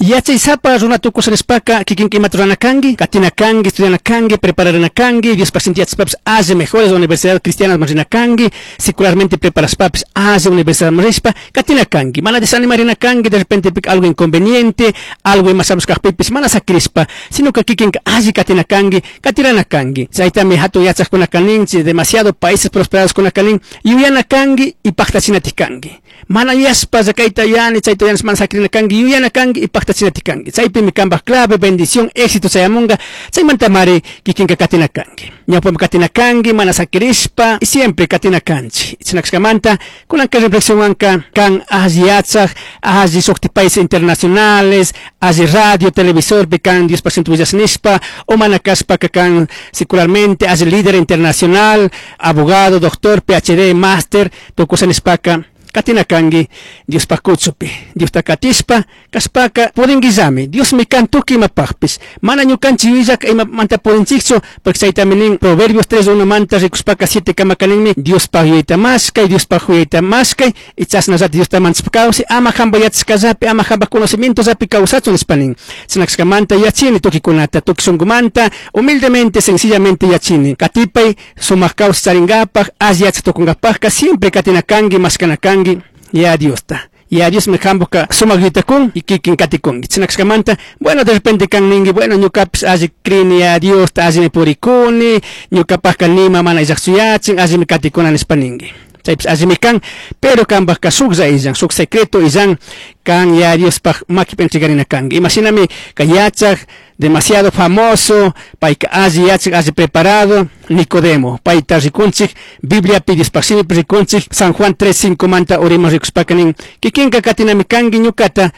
Yachaysapa runa tukusha nishpaka kikinka imata rurana kanki, katina kanki, estudiana kanki, prepararina kanki, Diospaj sinti yachashpapish alli mejores universidad cristianasman rina kanki, secularmente preparashpapish alli universidadman rishpa katina kanki. Mana desanimarina kanki, de repente algo inconveniente, algo ima shamush kajpipish mana sakirishpa, sino que kikinka alli katina kanki, katirana kanki. Chaytami hatun yachajkunaka ninchik, demasiado países prosperados kunaka nin, yuyana kanki y paktachinatik kanki. Mana yuyashpa kayta yuyani, chayta yuyani, mana sakirina kanki, yuyana kanki y paktachinatik kanki. Chaypimi kanpaj clave, bendición, éxito chayamunga, chaymantamari kikinka katina kanki. Ñawpami katina kanki, mana sakirishpa y siempre katina kanchik. Chinakashkamanta, kunanka reflexionwanka kan alli yachaj, alli shukti países internacionales, alli radio, televisorpi kan Diospaj sinti willash nishpa, o mana kashpaka kan secularmente, alli líder internacional, abogado, doctor, PhD, máster, tukusha nishpaka, katina kanki Diospaj kuchupi. Diosta katishpa, kashpaka pudinguillami. Diosmi kan tukuy imapajpish. Mana ñukanchik yuyallaka imamanta pudinchikchu, porque chaytami nin Proverbios 3:1 manta rikushpaka 7 kamaka ninmi, Diospaj yuyayta mashkay, Diospaj yuyayta mashkay, y chashnallata Diosta manchashpa kawsay, ama hampa yachashkallapi, ama hampa conocimientollapi kawsachun nishpa nin. Chinakashkamanta yachini tukikunata, tukuy shunkumanta, humildemente, sencillamente yachini. Katipay, sumak kawsay charingapaj, alli yachaj tukunkapajka, siempre katina kanki, mashkana kanki, ya Diosta. Ya Dios me hambuka sumak yuytakun y kikin katikunki. Chinakashkamanta, bueno, de repente kan ninki, bueno, ñukapish alli crini ya Diosta, allimi purikuni, ñukapajka nima mana illakchu yachin, allimi katikuna nishpa ninki. Chaypish allimi kan, pero kanpajka shuklla illan, shuk secreto illan, kan ya Diospaj makipi entregarina kanki. Imashinami ka yachaj, demasiado famoso, payka alli yachaj, alli preparado, Nicodemo, payta rikunchik, Bibliapi Diospaj shimipi rikunchik, San Juan 3:5 manta uriman rikushpaka nin, kikinka katinami kanki ñukata,